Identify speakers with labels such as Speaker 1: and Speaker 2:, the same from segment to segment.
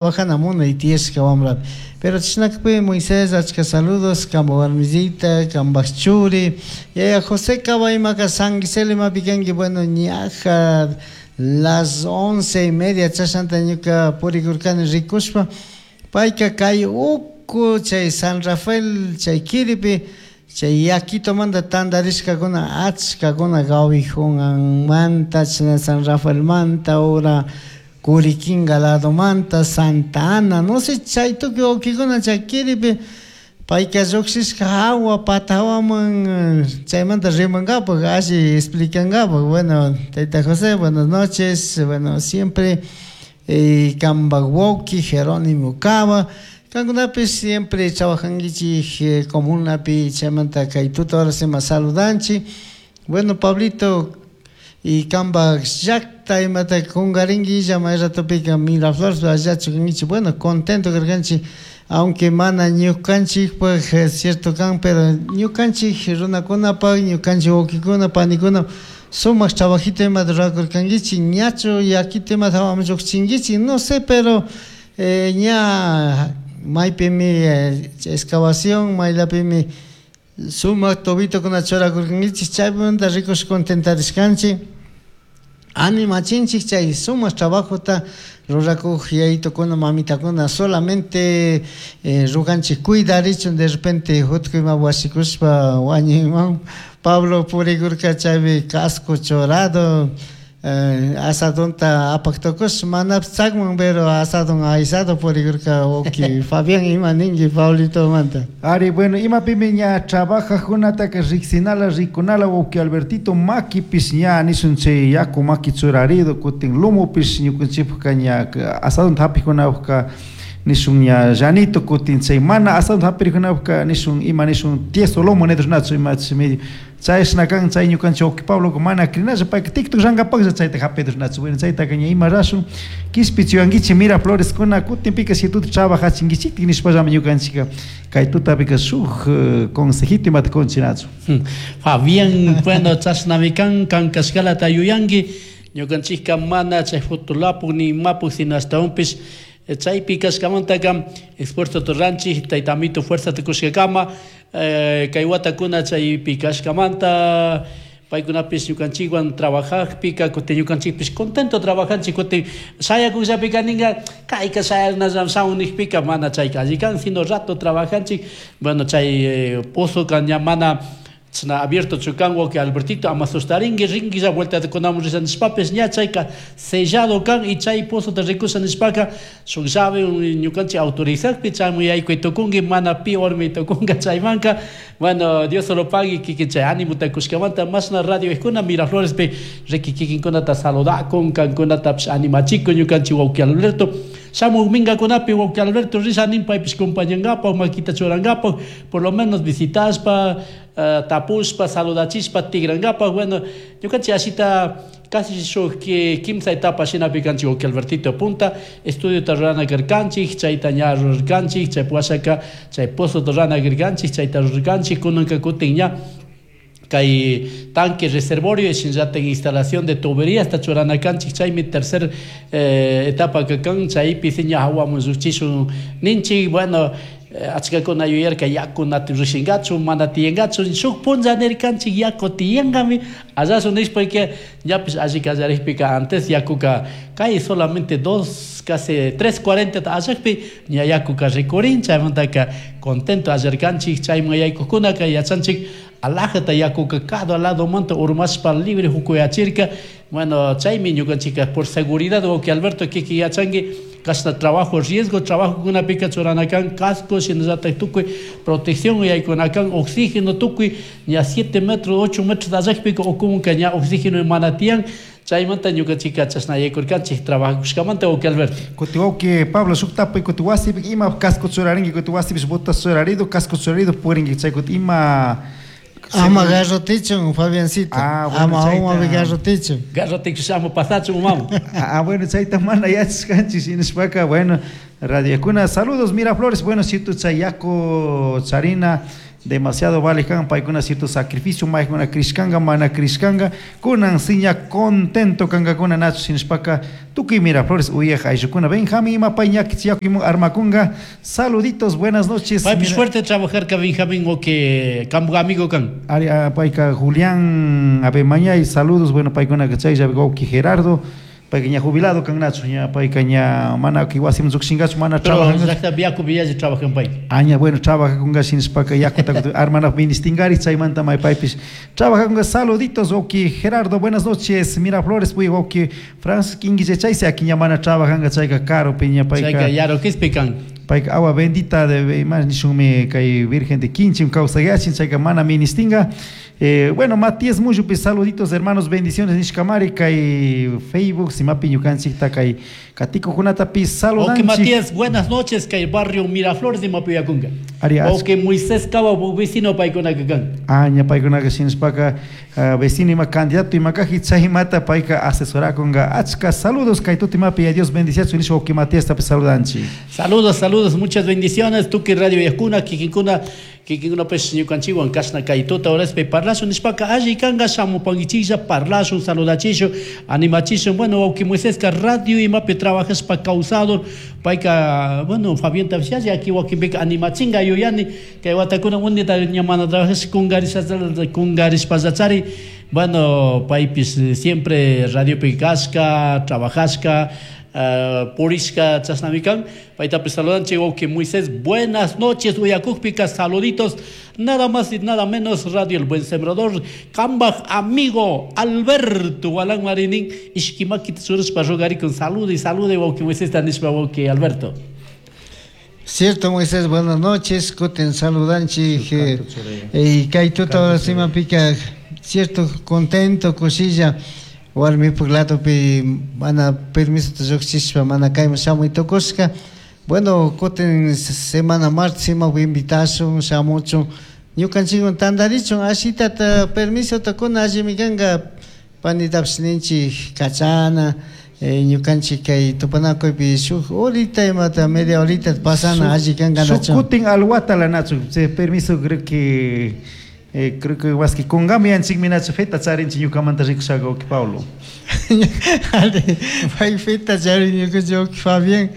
Speaker 1: Trabajana munay tiyashka wambrapi. Pero chashnakpi Moisés achka saludos kamba warmisita, kambaj churi. Yaya José Cabaimaka San Gisela imapi kanki, bueno, ñaja las 11:30 chashnata ñuka purikurkani rikushpa, payka kay uku chay San Rafael chay kiripi chay yaquitomanta tantarishkakuna achkakuna Gawijunmanta, chashna San Rafaelmanta, ura Curiquinga ladomanta, Santa Ana, no sé, chay tukuy wawkikuna chay kiripi payka llukshishka hawa pata hawaman chaymanta rimankapak, alli explicankapak. Bueno, tayta José, buenas noches, bueno, siempre kanpak wawki Jerónimo Cava, kankunapish siempre trabajankichik comunapi, chaymanta kay tuta horas ima saludanchik. Bueno, Pablito, y kanpak llakta imata kunkarinki may ratopika Miraflores allachu kankichik, bueno, contento karkanchik, aunque mana ñukanchikpak cierto kan, pero ñukanchik runakunapak, ñukanchik wawkikuna, panikuna sumak trabajito imata rurakurkankichik, ñachu yakito imata hawaman llukchinkichik, no sé, pero ña maypimi excavación, maylapimi sumak tubitokuna churakurkankichik, chaymanta rikush contentarishkanchik, animachinchik chay sumak trabajota rurakuk yayitukuna, mamitakuna, solamente ruganchik cuidarichun, de repente jutku ima wasikushpa wañuyman. Pablo purikurka chaypi casco churado, asadonta apak tukush manapish chakman, pero asadon aysado purikurka wawki Fabián. Ima ninki Pablitomanta?
Speaker 2: Ari, bueno, imapimi ña trabajajkunataka riksinala, rikunala, wawki Albertito, makipish ña nishun chay yaku maki churarido, kutin lumupish ñukanchikpaka ña asadonta hapijkunapaka nishun ña llanito, kutin chay mana asadonta hapirikunapaka nishun ima nishun tieso lomo nidushnachu ima medio chayshna kan. Chay ñukanchik wawki Pablo mana crinalla, payka TikTok llankapaklla chayta hapidurnachu. Bueno, chaytaka ña ima rashun, kishpichiwankichik Mirafloreskuna, kutinpika si tuta trabajachinkichiktik nishpallami ñukanchika kay tutapika shuk consejito imata kunchinachu.
Speaker 3: Fabián, bueno, chashnami kan, kan kashkalata yuyanki, ñukanchikka mana chay fotolapuk ni imapuk, sino ashtawanpish chaypi kashkamantaka esfuerzo ruranchik, tayta amito fuerzata kushkakama kay watakuna chaypi kashkamanta paykunapish ñukanchikwan trabajakpika, kutin ñukanchikpish contento trabajanchik. Kutin shayakukllapika ninga kayka shayanallam shamun nijpika mana chayka alli kan, sino rato trabajanchik. Bueno, chay pozoka ña mana chashna abierto chu kan, wawki Albertito, ama sustarinki, rinquilla vuelta kunamun risha nishpapish ña chayka sellado kan. Y chay pozota rikusha nishpaka shuk llave ñukanchik autorizakpi chayman yaykuy tukunki, mana pi warmi tukunka chaymanka. Bueno, Dios solo pagui kikin chay animota kushkamanta. Mashna radio kuna Miraflorespi riki kikinkunata saludakun, kankunatapish animachikun ñukanchik wawki Alberto. Shamuk minkakunapi wawki Alberto risha nin paypish compañankapak, makita churankapak, por lo menos visitashpa, tapushpa, saludachishpa tigrankapak. Bueno, ñukanchik ashita casi shuk kimsa etapa shinapi kanchik, wawki Albertito. Punta estudiota rurana karkanchik, chayta ña rurarkanchik, chay washaka chay pozota rurana karkanchik, chayta rurarkanchik. Kunanka kutin ña kay tanque reservorio shinallatak instalación de tuberías ta churana kanchik, chaymi tercer etapa kan, chaypi ña hawaman llukchishun ninchik. Bueno, achkakuna yuyarka yaku na rishinkachu, mana tiyankachu, shuk punlla nirkanchik yaku tiyankami allasun nishpaka ñapish alli kallarikpika antes yakuka kay solamente dos, casi 3:40 allakpi ña yakuka rikurin. Chaymantaka contento allarkanchik, chayman yaykukunaka yachanchik alajata yakuka cada ladomanta urmashpa libre hukuyachirka. Bueno, chaymi ñukanchika por seguridad, wawki Alberto, kiki yachanki, kashna trabajo riesgo trabajo kunapika churana kan casco, shinallatak tukuy protección yaykuna kan, oxígeno tukuy, ña 7 metros, 8 metros allakpika ukumunka ña oxígeno mana tiyan, chaymanta ñukanchika chashna yaykurkanchik trabajakushkamanta, wawki Alberto.
Speaker 2: Kuti wawki Pablo, shuk tapuy, kuti wasipi ima casco churarinki, kuti wasipish botas churarido, casco churarido purinki, chay kuti ima
Speaker 1: Ama garrotichun, Fabiancito.
Speaker 2: Ah, bueno,
Speaker 1: ama
Speaker 2: chayta
Speaker 1: umapi garrotichun.
Speaker 3: Garrotichun ama pasachun umamu.
Speaker 2: Ah, bueno, chayta mana yachashkanchik, shinashpaka, bueno, radiokuna, saludos Miraflores, bueno, si tu chay yaku charina. Demasiado vale kan paykuna cierto sacrificio maykuna krishkanga mana krishkanga kunan siña contento kankakuna nachu sinishpaka tukuy Miraflores uyaj ayllukuna. Benjamín imapay ñakichiyakumun armakunga. Saluditos, buenas noches.
Speaker 3: Paypish fuerte trabajarka Benjamín o que kambu amigo kan.
Speaker 2: Ari, payka Julián Abemañay, saludos, bueno, paykunaka chaylla wawki Gerardo, payka ña jubilado kan nachu, ña payka ña mana wasiman llukshinkachu, mana
Speaker 3: Pero
Speaker 2: trabajangachu.
Speaker 3: llakta yakupi yalli trabajan pay.
Speaker 2: Aña, bueno, trabajakunga shinashpaka yakuta armanaj ministingari, chaymanta may paypish trabajakunga. Saluditos, wawki Gerardo, buenas noches, Miraflores, puy wawki Francis Quinguille, chaysi aquí ña mana trabajanga, chayka karupi ña payka.
Speaker 3: Chayka Yaroquispi kan.
Speaker 2: Payka agua bendita de más nishunmi kay Virgen de Quinchim kawsayachin, chayka mana ministinga. Bueno, Matías Muyupi, saluditos hermanos, bendiciones nishkamari kay Facebook, simapi ñukanchikta kay katikukunatapi saludanchik.
Speaker 3: Ok, Matías, buenas noches, kay barrio Miraflores de Mapuyakunga.
Speaker 2: Ari,
Speaker 3: Ok, Moisés Cava, vecino paykunaka kan.
Speaker 2: Aña paykunaka shinashpaka, vecino ima candidato ima kaji chaymata payka asesorakunga. Achka saludos kay tutimapi, a Dios bendiciachu nishpa ok, Matías tapi saludanchik.
Speaker 3: Saludos, saludos, muchas bendiciones. Tuki Radio Yakuna, kikinkuna, kikinkuna pues ñukanchikwan kashna kay tuta horaspi parlashun nishpaka alli kanga shamupankichiklla parlashun, saludachishun, animachishun. Bueno, wawki Moiseska radio imapi trabajashpa kawsador, payka, bueno, Fabián Tavsialla, aquí wakinpika animachinga yuyani, kay watakuna unita ña mana trabajash kungarishpallachari. Bueno, paypis siempre radiopi kashka, trabajashka, purishka chashnami kan. Paytapis saludanchik wawki Moisés, buenas noches, uyakukpika saluditos, nada más y nada menos Radio El Buen Sembrador, kambaj amigo Alberto Gualán Marinin, ishkimakita churashpa rogarikun, salude, salude wawki Moisés nishpa wawki Alberto.
Speaker 1: Cierto, Moisés, buenas noches, kutin saludanchik, y kay tuta ahora simapika, cierto, contento, kushilla, warmipuk ladopi mana permiso lluqshishpa mana kayman shamuy tukushka. Bueno, kutin semana martes imapi invitashun, shamuchun, ñukanchikwan tantarichun, ashitata permisota kuna allimi kanka, panitapish ninchik kachana, ñukanchik kay tupanakuypi shuk horita imata media horita pasana alli kanka
Speaker 2: Shuk
Speaker 1: nachu.
Speaker 2: kutin alwatala nachu, chay permiso creo que creo que waski kungami yanchikmi nachu feta charinchik ñukamanta rikushaga wawki Pablo.
Speaker 1: Pay feta charin ñukanchik wawki Fabián,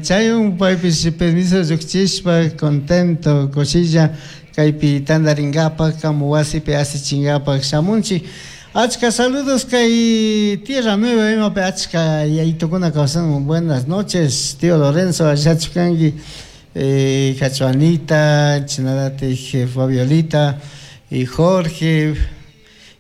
Speaker 1: chaywan paypish permiso llukchishpa contento kushilla kaypi tantarinkapak kamu wasipi asichinkapak shamunchik. Achka saludos kay Tierra Nueva imapi achka yaytukuna kawsan. Buenas noches, tío Lorenzo, allachu kanki, Cachuanita, chinalatik Fabiolita y Jorge,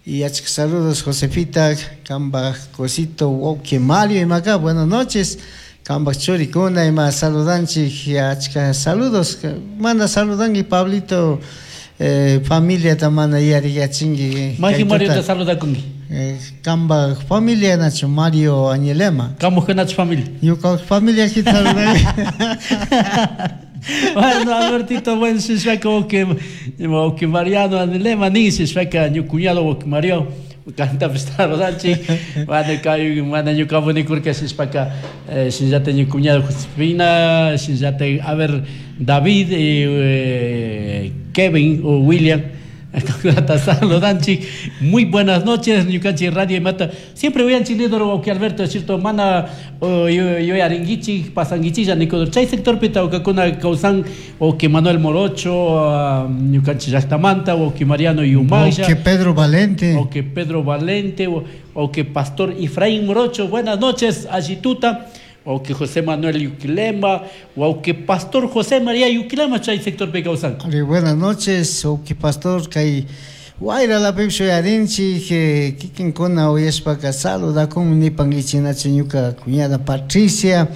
Speaker 1: y achka saludos Josefita, kambaj cosito, wawki Mario imaka, buenas noches, kambaj churikuna ima saludanchik, achka saludos, mana saludanki Pablito, familia mana yariyachinki.
Speaker 3: Maji Mario te saludakunki.
Speaker 1: Kamba familia nachu Mario Añelema.
Speaker 3: Kamu nachu familia.
Speaker 1: Ñuka familia aquí saludanki.
Speaker 3: Bueno, Albertito, bueno, si como que Mariano Añelema, ni si ñu cuñado que Mario. Canta saludanchik. Bueno, kay mana ñuka bonikurka shishpaka, shinllata ñu cuñado Josefina, shinllata, a ver, David, Kevin o William. Saludanchik. Muy buenas noches, ñukanchik Radio Imata. Siempre voy a chilidoro que Alberto, es cierto, mana yo aringuichi, pasanguichilla, nikodor. Chay sector pita o kakuna causan o que Manuel Morocho, ñukanchik llaqtamanta, o que Mariano Yumaya,
Speaker 1: o que Pedro Valente,
Speaker 3: o que Pedro Valente, o que Pastor Efraín Morocho. Buenas noches, Ayituta. O que José Manuel Yuquilema, o que Pastor José María Yuquilema, chay sector Pecausan.
Speaker 1: Buenas noches, o que Pastor kay Wayra la pipshu yarinchi, que kikinkuna uyashpaka saludakun nipankichi nachu ñuka cuñada Patricia,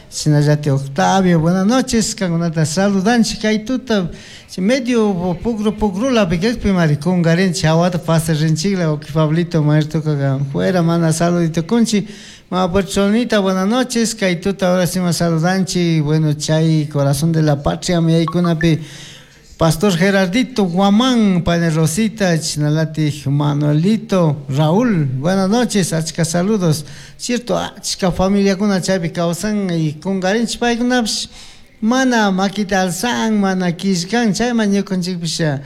Speaker 1: sinallate Octavio, buenas noches, kankunata saludanchi kay tuta, medio pugru pugrula pikakpi mari kungarinchi, hawata pasarrinchikla, o que Pablito maestro kaga fuera mana saludito kunchi. Ma Puertonita, buenas noches, kay tuta ahora sí más saludanchi, bueno, chay, corazón de la patria, mi aykunapi, Pastor Gerardito Guamán, Padre Rosita, Chinalati, Manuelito, Raúl, buenas noches, achka saludos, cierto, achka familia kuna chaypi kawsan y kungarinchi paykunapish, Mana makita alzan, mana killkan, chayman ñukanchikpish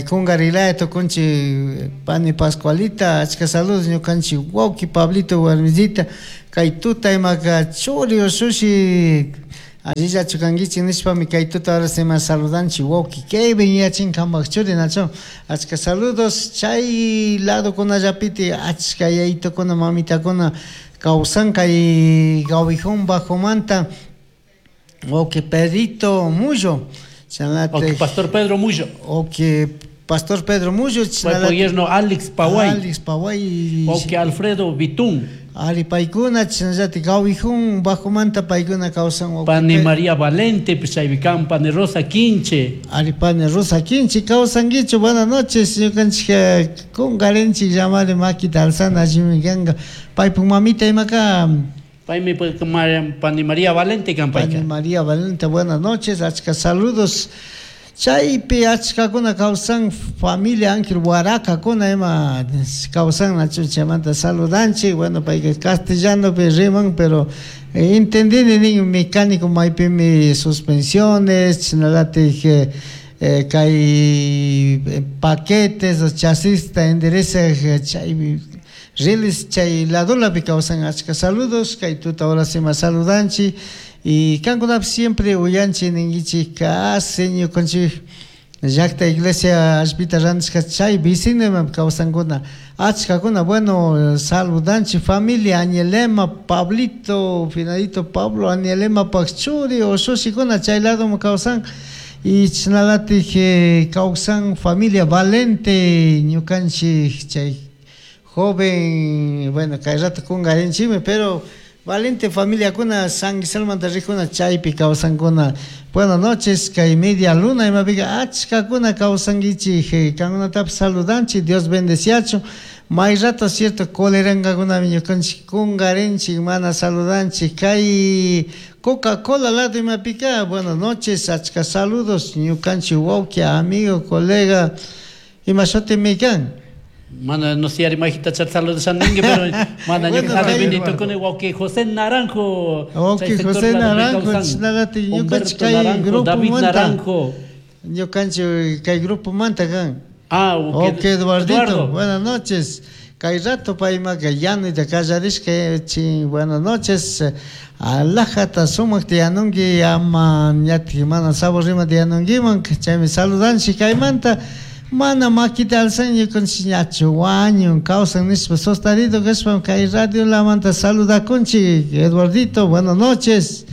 Speaker 1: kungarilaya tukunchik pani Pascualita, achka saludos ñukanchik wawki Pablito warmisita, kay tuta imaka churi ushushi allillachu kankichik nishpami kay tuta horas ima saludanchik wawki Kevin yachin kanpak churi nachu, achka saludos chay ladokunallapiti achka yayitukuna mamitakuna kawsan kay Gawijón bajomanta wawki Pedrito Mullo,
Speaker 3: Wawki Pastor Pedro Mullo.
Speaker 1: Wawki Pastor Pedro Mullo,
Speaker 3: Paypak yerno Alex Paway.
Speaker 1: Alex Paway.
Speaker 3: Wawki Alfredo Bitún.
Speaker 1: Ari paykuna chashnallatik Gawijón bajomanta paykuna kawsan wawki
Speaker 3: Pani María Valente, chaypi kan Pani Rosa Quinche.
Speaker 1: Ari Pani Rosa Quinche kawsankichu, buenas noches, ñukanchik kunkarinchik llamari makita alzana allimi kanka. Paypuk mamita imaka.
Speaker 3: Paymi Pani María Valente kan payka.
Speaker 1: Pani María Valente, buenas noches, achka saludos. Chaypi achkakuna kawsan familia Ángel Huarakakuna ima kawsan nachu chaymanta saludanchik. Bueno, payka castellanopi riman, pero entendini nin mecánico maypimi suspensiones, chashnallatik kay paquetes o chasista enderezaj chay riles chay ladolapi kawsan achka saludos kay tuta horas ima saludanchik. Y kankunapi siempre uyanchik ninkichik casi ñukanchik llakta iglesia allpita rantishka chay vecino ima kawsankuna achkakuna. Bueno, saludanchik familia Anielema, Pablito, Finadito Pablo, Anielema pak churi ushushikuna chay ladoman kawsan. Y chashnallatik kawsan familia Valente ñukanchik chay joven, bueno, kay rato kunkarinchikmi, pero Valente familiakuna San Guiselmanta rijuna chaypi kawsankuna. Buenas noches, kay media luna imapika achkakuna kawsankichik, kankunatapish saludanchik, Dios bendeciachu. May rato cierto colerankakunami ñukanchik kunkarinchik, mana saludanchik. Kay Coca-Cola lado imapika, buenas noches, achka saludos ñukanchik wawki, amigo, colega, ima shutimi kan.
Speaker 3: Mana, no sé, imagínate echar saludos a ninguém, pero mana, yo
Speaker 1: Bueno,
Speaker 3: cada
Speaker 1: ahí
Speaker 3: benito
Speaker 1: va.
Speaker 3: con el wawki José Naranjo.
Speaker 1: Wawki
Speaker 3: Chay sector
Speaker 1: José
Speaker 3: la de
Speaker 1: Naranjo,
Speaker 3: Causan.
Speaker 1: chinalate, ñukanchik
Speaker 3: Humberto
Speaker 1: kay
Speaker 3: Naranjo,
Speaker 1: grupo
Speaker 3: David
Speaker 1: manta.
Speaker 3: Naranjo.
Speaker 1: Ñukanchik kay grupo manta kan.
Speaker 3: Ah, wawki
Speaker 1: Ok, Eduardito,
Speaker 3: Eduardo.
Speaker 1: Buenas noches. Kay rato paymaka yanuyta kallarishka, chin, buenas noches. Alajata sumak tiyanunki, ama ñatik mana sabor rima tiyanunkiman, chaymi saludanchik kaymanta. Mana makita alzan ñukanchik ñachu wañun kawsan nishpa sostarido kashpa kay radio lamanta saludakunchik. Eduardito, buenas noches.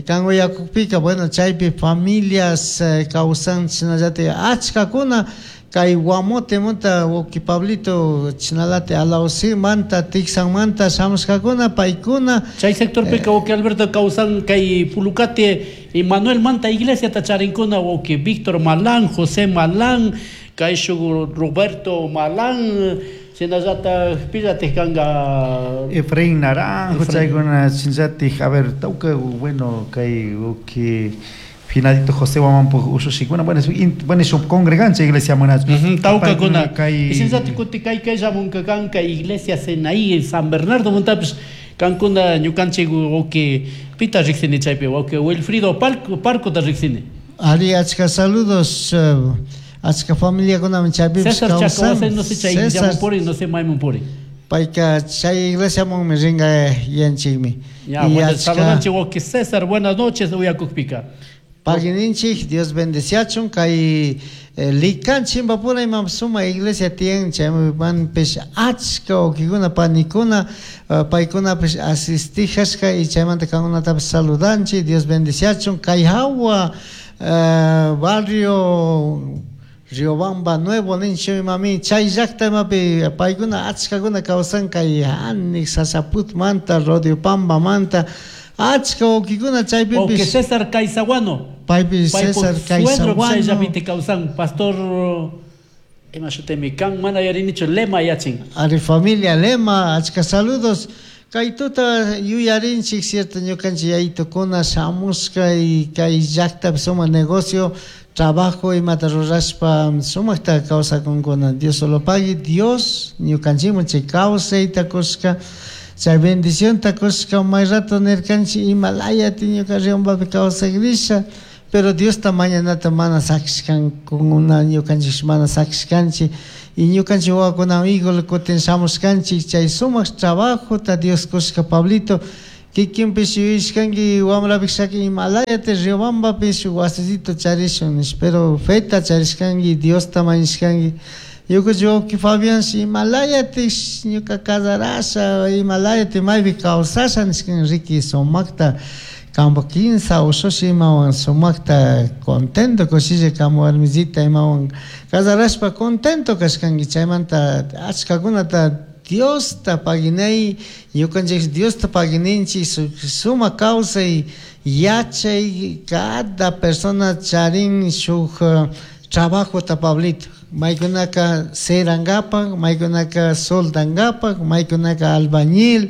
Speaker 1: Kan uyakukpika, bueno, chaypi familias kawsan chashnallatik achkakuna kay Guamote manta wawki Pablito chinalate Alausi manta Tixan manta shamushkakuna paykuna.
Speaker 3: Chay sectorpika wawki Alberto kawsan kay Pulucate y Manuel manta iglesia tacharinkuna wawki Víctor Malán, José Malán, kay shuk Roberto Malán, shinallata pillate kanga
Speaker 2: Efraín Naranjo,
Speaker 3: Efraín.
Speaker 2: chaykuna shinllatik, a ver, tauka, bueno, kay wawki Finadito José Guamán ushushikuna, bueno, es in, bueno, es un congregante iglesia manacho.
Speaker 3: Tauka kuna.
Speaker 2: Kay
Speaker 3: Y shinllati kuti kay kay shamunka kanka iglesia Senaí en San Bernardo montapis kankuna ñukanchik wawki pita riksini chaypi wawki Wilfrido Parco ta riksini.
Speaker 1: Ari achka saludos, achka familiakunaman chaypipish
Speaker 3: César
Speaker 1: kawsan.
Speaker 3: Chacahuase, no sé chay
Speaker 1: César
Speaker 3: llaman puri, no sé mayman puri.
Speaker 1: Payka chay iglesiamanmi ringa yanchikmi.
Speaker 3: Ya,
Speaker 1: Y
Speaker 3: bueno,
Speaker 1: achka
Speaker 3: saludanchik wawki César, buenas noches, uyakukpika.
Speaker 1: Pagininchik, Dios bendeciachun, kay Likan Chimbapura imam suma iglesia tiyan, chaymi panpish achka wawkikuna, panikuna, paykunapish asistijashka y chaymanta kankunatapish saludanchik, Dios bendeciachun, kay hawa barrio Riobamba Nuevo ninchu imami, chay llakta imapi paykuna achkakuna kawsan kay Anik, Sasaput manta, Rodiopamba manta, achka wawkikuna chaypipish.
Speaker 3: Wawki César Caizaguano.
Speaker 1: Paypi
Speaker 3: Paypuk
Speaker 1: César
Speaker 3: suegro
Speaker 1: Caizaguano.
Speaker 3: chayllapiti kawsan, pastor ima shutimi kan, mana yarinichu, Lema yachin.
Speaker 1: Ari familia Lema, achka saludos. Kay tuta yuyarinchik, cierto, ñukanchik yayitukuna shamushka y kay llaktapi suma negocio, trabajo imata rurashpa sumakta kawsakunkuna. Dios solo pague, Dios ñukanchikman chay kawsayta kushka. Chay bendicionta kushka may rato nirkanchik imalayati ñuka Riobambapi kawsakrisha, pero Diosta mañanata mana sakishkankuna ñukanchik mana sakishkanchik y ñukanchik wawakunawan igual kutin shamushkanchik chay sumak trabajota Dios kushka Pablito kikinpish yuyashkanki wambrapishaka imalayati Riobambapi shuk wasisito charishun nish, pero feta charishkanki Diosta mañashkanki. Ñukanchik wawki Fabián imalayati ñuka casarasha imalayati maypi kawsasha nishkan riki sumakta kampak kinsa ushushi imawan sumakta contento kushilla kamu warmisita imawan casarashpa contento kashkanki chaymanta achkakunata Diosta paginay ñukanchik Diosta pagininchik sumak kawsay yachay cada persona charin shuk trabajota Pablito maykunaka serankapak maykunaka soldankapak maykunaka albañil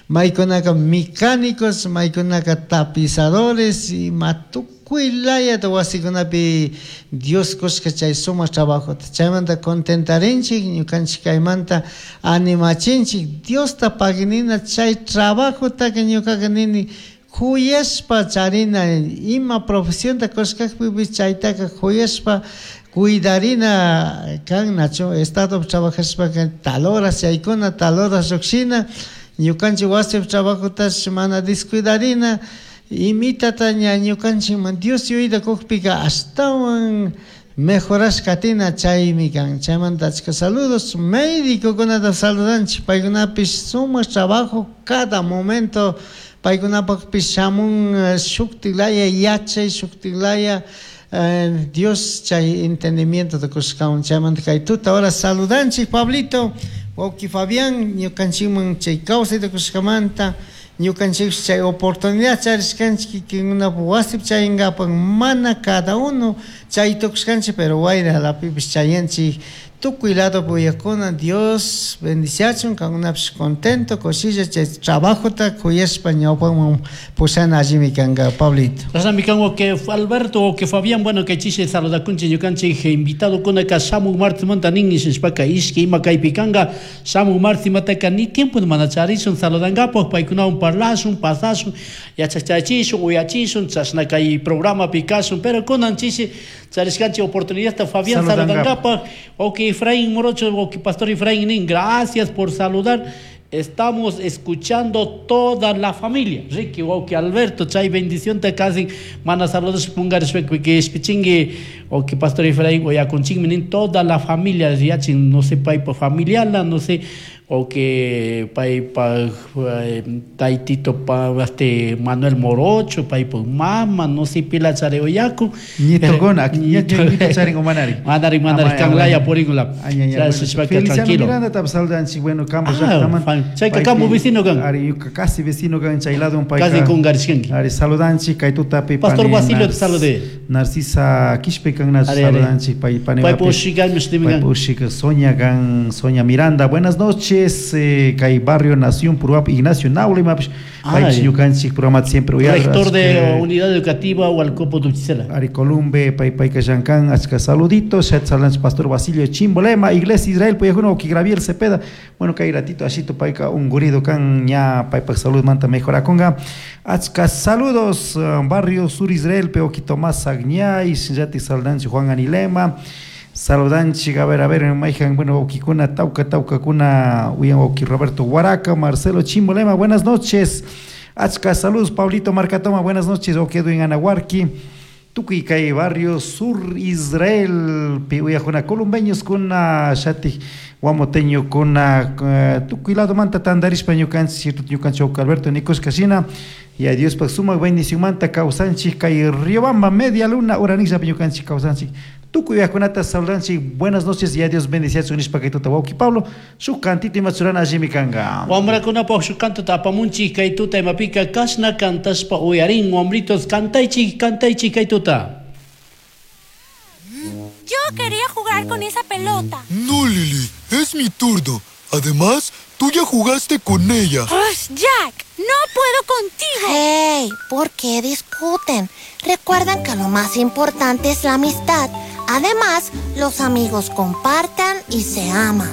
Speaker 1: maykunaka mecánicos maykunaka tapizadores ima tukuy layata wasikunapi Dios kushka chay sumak trabajota chaymanta contentarinchik ñukanchik kaymanta animachinchik Diosta paginina chay trabajotaka ñukaka nini kuyashpa charina ima profesionta kushkakpipish chaytaka kuyashpa cuidarina kan nachu estado trabajashpaka tal horas chaykuna tal horas llukshina ñukanchik wasipi trabajotash mana descuidarina imitata ña ñukanchikman Dios yuyayta kukpika ashtawan mejorash katina chaymi kan chaymanta achka saludos médicokunata saludanchik paykunapish sumak trabajo cada momento paykunapakpish shamun shuktiklaya yachay shuktiklaya Dios chay entendimiento kushkawan chaymanta kay tuta ahora saludanchik Pablito wawki Fabián ñukanchikman chay kawsayta kushkamanta ñukanchik chay oportunidad charishkanchik kikinkunapak wasipi chayinkapak mana cada uno chay tukushkanchik pero wayra lapipish chayanchik tukuy lado uyakuna Dios bendiciachun kankunapish contento kushilla chay trabajota kuyashpa ñawpaman pushana allimi kanka Pablito.
Speaker 3: Chashnami kan wawki Alberto wawki Fabián, bueno kay chishi saludakunchik ñukanchik invitado kunaka shamuk martimanta nin nishpaka ishki ima kaypi kanka shamuk martimataka ni tiempo mana charishun saludankapak paykunawan parlashun pasashun yachachachishun uyachishun chashna kay programapi kashun pero kunan chishi charishkanchik oportunidadta Fabián saludankapak wawki Efraín Morocho, wawki Pastor Efraín nin, gracias por saludar. Estamos escuchando toda la familia. Ricky, wawki Alberto, chay bendición te casi mana saludos pungarishpa que espichingue wawki Pastor Efraín oyakunchikmi nin toda la familia yachin no sé paypa familiala no sé o que paypa taytito pa este Manuel Morocho paypa mama no sé pila chare oyaku
Speaker 2: ñitokuna ñito charin o manari
Speaker 3: manari manari kanlaya puringula
Speaker 2: Feliciano Miranda tap saludanchik bueno campo llaqtaman
Speaker 3: chayka campo vecino kan
Speaker 2: ari casi vecino kan chay lado payka
Speaker 3: casi kungarishkanki
Speaker 2: ari saludanchik kay tutapi
Speaker 3: Pastor Basilio te salude
Speaker 2: Narcisa Quispe kan saludanchik pay pani
Speaker 3: paypa ushika
Speaker 2: paypa ushika Sonia kan Sonia Miranda buenas noches kay barrio Nación Puruap Ignacio Naule mapish paypish ñukanchik programata siempre uyar
Speaker 3: rector de unidad educativa Hualcopo Duchicela
Speaker 2: Ari Columbe pay payka llankan achka saluditos chat saludanchik Pastor Basilio Chimbolema Iglesia Israel puyajuna wawki Gabriel Cepeda bueno kay ratito ashito payka ungurido kan ña paypak salud manta mejorakunka achka saludos barrio Sur Israel pe wawki Tomás Agñay shinallatik saludanchik Juan Anilema saludanchik a ver mayjan bueno wawkikuna tawka tawkakuna uyan wawki Roberto Huaraca Marcelo Chimbolema buenas noches achka saludos Pablito Marcatoma buenas noches wawki Edwin Anahuarqui tukuy kay barrio Sur Israel pi uyajuna columbeños kuna shatik guamoteño kuna tukuy lado manta tandarishpa ñukanchik ñukanchik wawki Alberto nikushka shina y a Dios pak sumak bendición manta kawsanchik kay Riobamba media luna uranishapi ñukanchik kawsanchik tukuy uyajkunata saludanchik buenas noches y a Dios bendiciachun nishpa kay tuta wawki Pablo shuk cantito imachurana allimi kanka
Speaker 3: wamrakunapaq shuk cantota apamunchik kay tuta imapika kashna kantashpa uyarin wamritos kantaychik kantaychik kay tuta.
Speaker 4: Yo quería jugar con esa pelota.
Speaker 5: No, Lily, es mi turno. Además, tú ya jugaste con ella.
Speaker 4: Jack, no puedo contigo.
Speaker 6: Hey, ¿por qué discuten? Recuerden que lo más importante es la amistad. Además, los amigos compartan y se aman.